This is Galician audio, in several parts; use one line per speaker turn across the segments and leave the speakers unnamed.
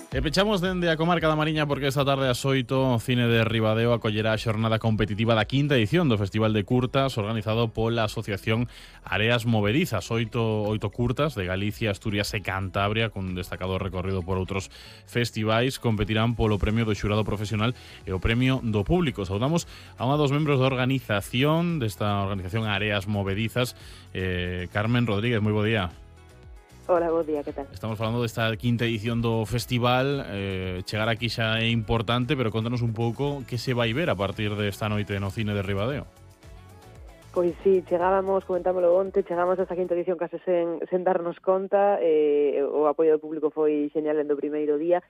E pechamos dende a comarca da Mariña porque esta tarde ás 8 o Cine de Ribadeo acollerá a xornada competitiva da quinta edición do Festival de Curtas organizado pola Asociación Areas Movedizas. Oito curtas de Galicia, Asturias e Cantabria con destacado recorrido por outros festivais competirán polo premio do xurado profesional e o premio do público. Saudamos a unha dos membros da organización desta organización Areas Movedizas, Carmen Rodríguez. Moi bo día.
Hola, bo día, que tal?
Estamos falando desta quinta edición do festival. Chegar aquí xa é importante, pero contanos un pouco que se vai ver a partir desta noite no Cine de Ribadeo.
Pois sí, comentámoslo onte, chegamos a esta quinta edición case sen darnos conta. O apoio do público foi genial en do primeiro día.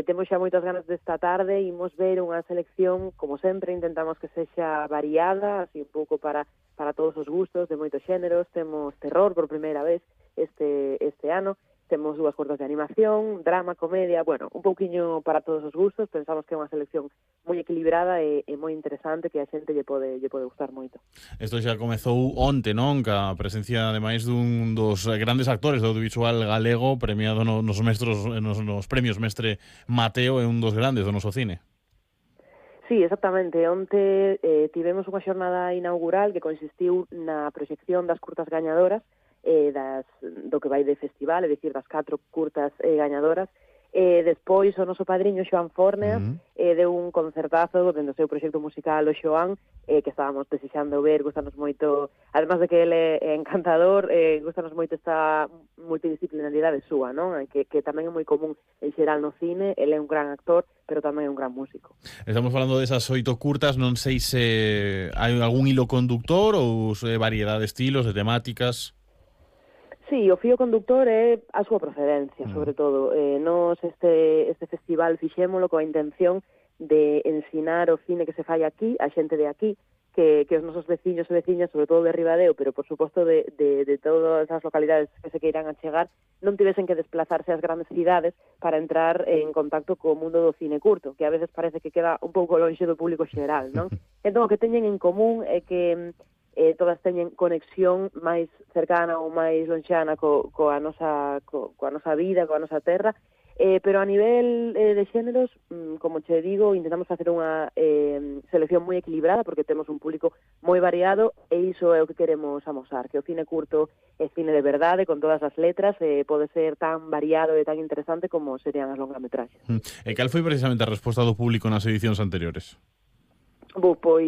Temos xa moitas ganas desta tarde, imos ver unha selección, como sempre, intentamos que sexa variada, así un pouco para todos os gustos, de moitos xéneros. Temos terror por primeira vez este ano, temos dúas curtas de animación, drama, comedia, bueno, un pouquiño para todos os gustos. Pensamos que é unha selección moi equilibrada e moi interesante, que a xente lle pode gustar moito.
Isto xa comezou onte, non? Ca presencia, ademais, dun dos grandes actores do audiovisual galego, premiado nos premios Mestre Mateo, é un dos grandes do noso cine.
Sí, exactamente. Onte tivemos unha xornada inaugural que consistiu na proxección das curtas gañadoras, do que vai de festival, é dicir, das 4 curtas gañadoras. Despois o noso padriño Xoán Fornea deu un concertazo dentro do seu proxecto musical o Xoán, que estábamos desexando ver. Gustanos moito, además de que ele é encantador, gustanos moito esta multidisciplinaridade súa, non? Que tamén é moi común en xeral no cine. Ele é un gran actor, pero tamén é un gran músico.
Estamos falando desas 8 curtas, non sei se hai algún hilo conductor ou se variedade de estilos, de temáticas.
Sí, o fío conductor é a súa procedencia, sobre todo. Nos este festival fixémolo coa intención de ensinar o cine que se fai aquí, a xente de aquí, que os nosos veciños e veciñas, sobre todo de Ribadeo, pero por suposto de todas as localidades que se queiran achegar, non tivesen que desplazarse ás grandes cidades para entrar en contacto co mundo do cine curto, que a veces parece que queda un pouco lonxe do público xeral, non? Entón, o que teñen en común é que todas teñen conexión máis cercana ou máis lonxana coa nosa vida, coa nosa terra, pero a nivel de xéneros, como che digo, intentamos facer unha selección moi equilibrada, porque temos un público moi variado, e iso é o que queremos amosar, que o cine curto é cine de verdade, con todas as letras, pode ser tan variado e tan interesante como serían as longametraxes.
E cal foi precisamente a resposta do público nas edicións anteriores?
Pois